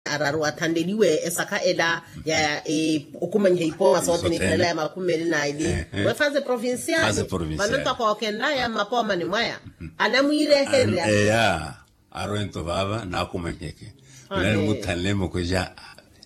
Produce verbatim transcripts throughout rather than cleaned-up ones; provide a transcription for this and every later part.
araru athanleliwe esakha ela ya okumanyiha ipooma sothene ikhalela ya makhumi meli na eli. Wefaze provincial. Vano ntoko okenlaya mmapoomani mwaya anamwiirehererya. Eya. Arwento vaava naakumanyeke. Nani muthanle mukweja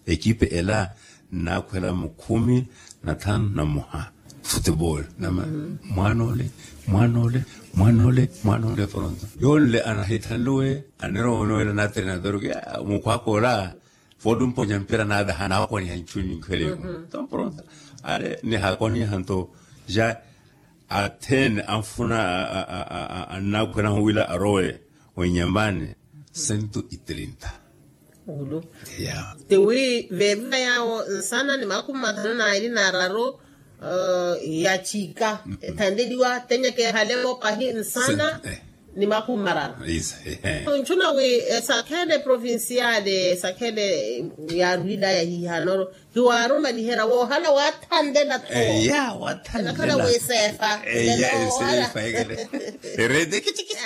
ekipe ela nnaakhwela mukhumi na thanu na mmoha. Futebol nama mwaanole mwaanole mwaanole mwaanole pronto yonle anahithanluwe. Anerowa onowela na treinador ke mukhwaka ola foottumponya mpira naadaha naakoniha nchuni nkhweleku. Nto pronto ale nihaakoniha nto ja athene anfuna annaakhwelahu wila arowe oinyambani. Sento itrinta. Tiwi veerina yawo nsana ni makhumi mathanu na eli na araru. Ya chika ethanleliwa tenyekeehalewo pahi nsana ni makhumi mararu. Ntchuna wi esakhele provinciale esakhele yaarwilaya hihanoro hiwaarumaliherya woohala waathanlela tho. Eya waathanlela. Wiseefa. Eya eseefa ekele. Erete kitikiti.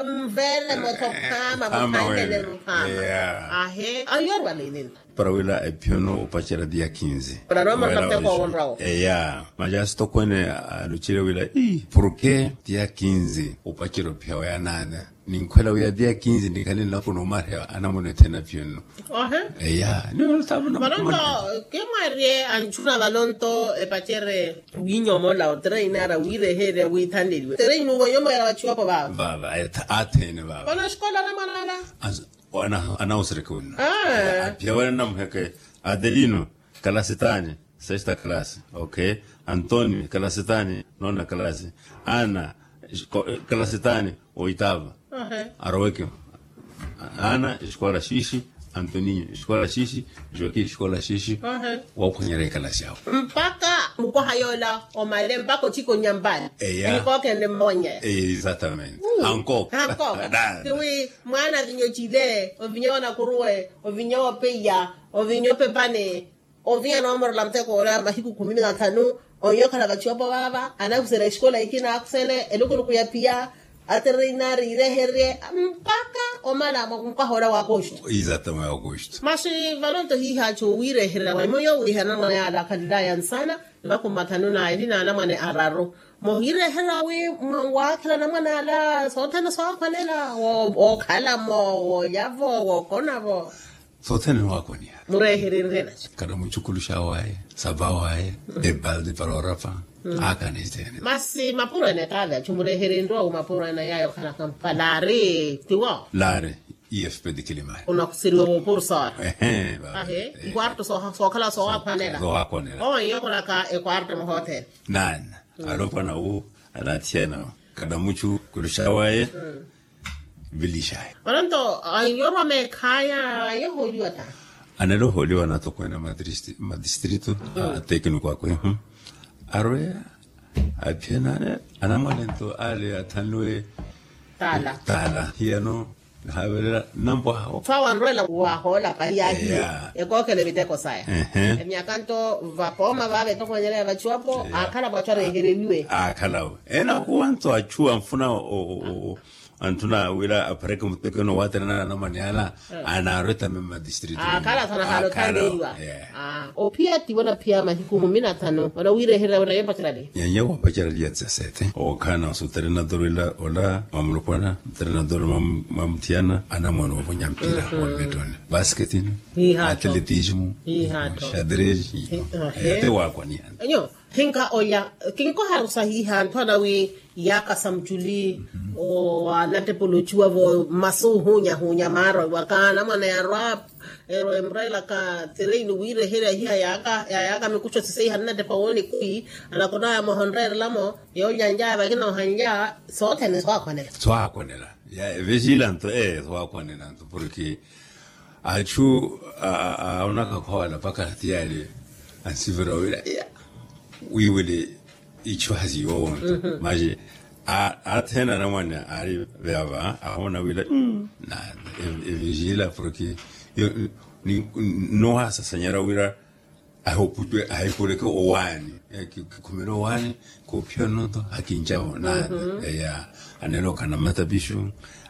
Mvele motho khama muthanlele mukhama. Ahe ayorwa lelelo. Para wila ephiyono opacerya dia kinzi. Para nomarata kwa wonrawo. Eya maja asitokwene alucile wila ii porke dia kinzi opacerya ophiya waya naana. Ninkhwela wiya dia kinzi nikhale nlapo noomarya anamuna ethena ephiyono. Eya. Valonto kimwarye antchuna valonto epacere wiinyomola otreinara wiireherya wiithanleliwe treini uvo nyomola vachiwapo vava. Vava athene vava. Vano xikola namwanala. Anawusereke wina. Aphiya wena nnamuheke adelino. Kalasitani sesta kalasi. Ok. Antonio kalasitani nona kalasi. Ana kalasitani oitava. Aroweke ana esikola xiixi. Antoninho esikola xiixi. Joaquim esikola xiixi. Woophwanyerya ekalasi awo mpakha mukwaha yoola omale mpakha ochika onyambani. Eya nikookhende mmonya. Exatamente. Ankooka ankooka. Tiwi mwaana avinya ocile ovinya wanakuruwe ovinya wopeiya ovinya opepane. Ovinya noomorola mutheko ola mahiku khumi na thanu. Oinya okhala vachiwapo vaava anahuserya exikola ikina akhusele elukuluku ya phiya. Atereinari ireherye mpakha omala mukwaha ola wa agosto. Exatamente agosto. Masi valonto hiihachu wiireherya wemwe yoowiihana mwa yaala akhalilaya nsana. Ni makhumi mathanu na eli na anamwane araru. Muhireherya wi waakhela anamwane ala sothene sookhwanela wookhalamo woolyavo wookonavo. Sothene niwaakwaniha. Mureeherenrye naxi. Kana muchukuluxa waye sapa waye ebaldi para orapa. Aakana ithene. Masi mapuro ene taali achu mureeherenrye owu mapuro ene yaayo khanaka mpalaari tiwo. Laari. Efp de kilimani unakhuseriwa woopursa. Ehe. Ikwarto sookhala soowakhwanela. Soowakhwanela owo iyokhulaka ekwarto muhothele. Naana alopwana wu. Anathiyana kadamuchu kuluxa waye. Vilixaya. Onanto anyorwa meekhaya yohooliwa ta. Analohooliwa anatokwene madistrito atekniko akwe. Arweya aphiyanane anamwanento ale athanliwe. Taala. Hiyano nihaavelela nnampo awo. Fa wanrwela wahoola pahi yaahiye. Ekookhela eviteko saya. Emyaka nto vapooma vaava etokwene ela ya vachiwapo aakhala vachu arehereliwe. Aakhalawe ena akuwa nto achu anfuna. Anthuna wira apareke mutekeno waterana na namani ala. Anaarwe tame madistrito akhala sana hano thaneriwa. Ophiya tiwo naphiya mahiku kumi na thanu wala wireherera wala yopacerali. Nyanya wapacerali ya tsesete okhana osutere nadorwela ola mamulopwana mutere nadorwela mamuthiyana anamwana ovonya mpira wa metoni basketini atletismu shadresi. Ete wakwaniana. Enyo hinka oya kinkoharusa hiha anthu anawi yaaka sa muchuli. Anattepolochiwa vo mmasu ohunya hunya maarwa iwaka anamwana yarwa. Ero emurelaka tereini wiireherya hiha yaaka yaaka mikuxo siseiha nnattepa wooni kwi anakonaya mohonreerelamo. Yoolyanjaya vakina ohanlya sothene swakhwanela. Swakhwanela. Vesilanto ee swakhwanela nto porke achu aonaka khola paka tiyali ansivira wira wiwili ichu hasiyowo. Maji athena anamwane ari veava ahona wira na evijila porke nohasasanyara wira ahoputwe ahepuleke owani kikhumela owani. Kophiya nonto hakinjavo nani eya anelokana matapishu.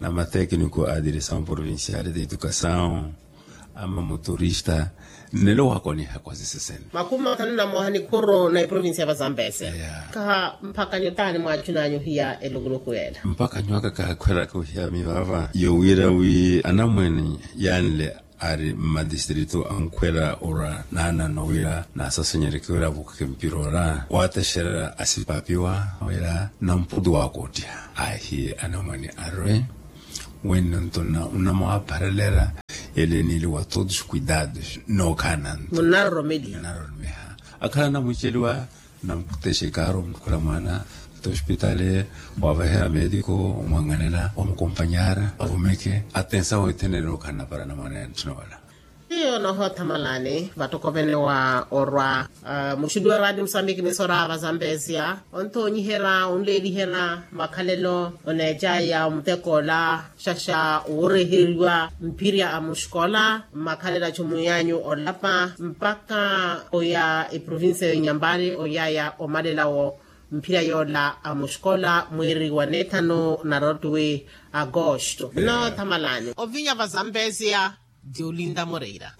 na matekniko a diresaw provincial de edukasaw ama muturista nnelo wakoniha kwa sisesene. Makumi mathanu na moha nikhuru na iprovincia va zambese. Kaha mpaka nyotani mwachu nanyu hiya elukuluku yela mpaka nywaka kakhwelaka uhiya mivava yowira wi anamwene yanle ari mmadistritu ankhwela orwa naanano wira naasasanyereke wira avukheke mpira ora waatexererya asipapiwa wira namputu waakottiha. Ahiye anamwane arwe wenno nto nnamwaapharelera ele niili wa todos kuidados nookhaana nto nnaroromeha akhala namwiiceliwa namkhutexa ikaaro omuthukhula mwaana tospitali waavaheya meetiko omwanganela omukompanyara avumeke atensa wethenele okhala napara namwana ya nthuna wala. Hiyo nohoothamalani vattokovene wa orwa muxuliwa raati musambiki misorava zambesia onthoonyiherya onleeliherya makhalelo oneecaya omutekoola xaxa wooreheriwa mphirya a muxikola mmakhalelo a chumu yanyu olapa mpakha oya eprovincia ya inyampari oyaya omalelawo mphirya yoola a muxikola mwiiri wa neethanu na rotwi agosto. Nnoothamalani ovinya va zambesia diolinda moreira.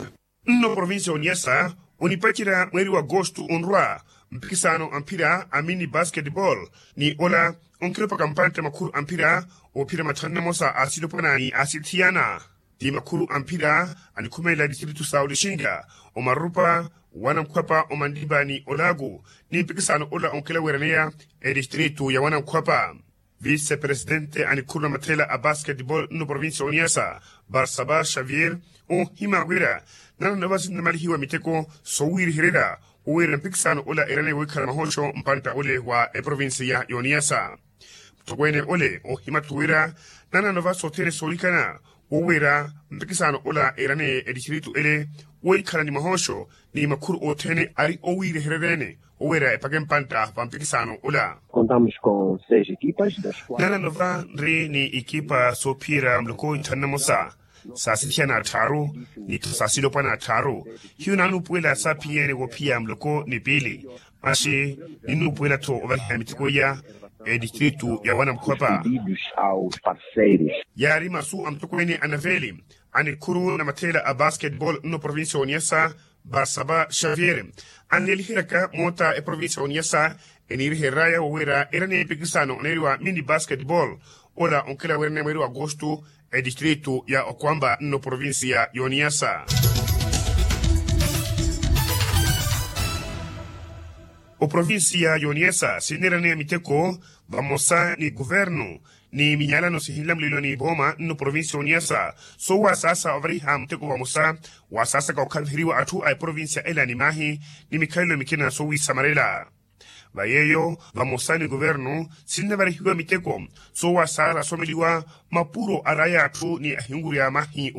Nno provincia ya oniasa onipacerya mweeri wa agosto onrwa mpikisano a mphira a mini basketball ni ola onkhiropaka mpantte makhuru a mphira oophira matthanu namosa a silopwana ni a sithiyana ti makhuru a mphira anikhumelela distritu sa olixinga omarupa wanamkhwapa omandipa ni olaku ni mpikisano ola onkela weeraneya edistritu ya wanamkhwapa. Vise presidente a nikhuru na mathela a basketball nno provincia ya oniasa barsaba xavier oohima wira nananova sinnamalihiwa miteko sowiirihererya owiira mpikisano ola eraneye wikhala mahooxo mpantta ole wa eprovincia ya oniasa. Mutthokweene ole oohima-tho wira nananova sothene soolikana wowiira mpikisano ola eraneye edistritu ele woikhala ni mahooxo ni makhuru othene ari owiirehereryeene owiira epake mpantta va mpikisano ola. Nananova nri ni ikipa soophiyerya muloko ithanu namosa sa sithiyana atthaaru ni-tho sa silopwana atthaaru hiyo naanuupuwela saaphiyeene woophiya muloko ni piili maxi ninnuupuwela-tho ovariha miteko iya edistritu ya wanamkhwapa. Yaari masu a mutokweene a naveeli a nikhuru na matheela a basketball nno provincia ya oniasa barsaba xavier anleeliheryaka moota eprovincia ya oniasa eniiriheryaya wowiira eraneye mpikisano oneeriwa mini basketball ola onkela weeraneya mweeri wa agosto edistritu ya okwamba nno provincia ya oniasa. Oprovincia ya oniasa sinneeraneya miteko vamosa ni kuvernu ni minyalano sihinlamuleliwa ni vooma nno provincia ya oniasa soowasaasa ovariha muteko vamosa wasaasaka okhaviheriwa atthu a eprovincia ela ni maahi ni mikhalelo mikina soowiisamarela. Va yeeyo vamosa ni kuvernu sinnavarihiwa miteko soowasaala asomeliwa mapuro araya atthu ni ahinwurya mahi.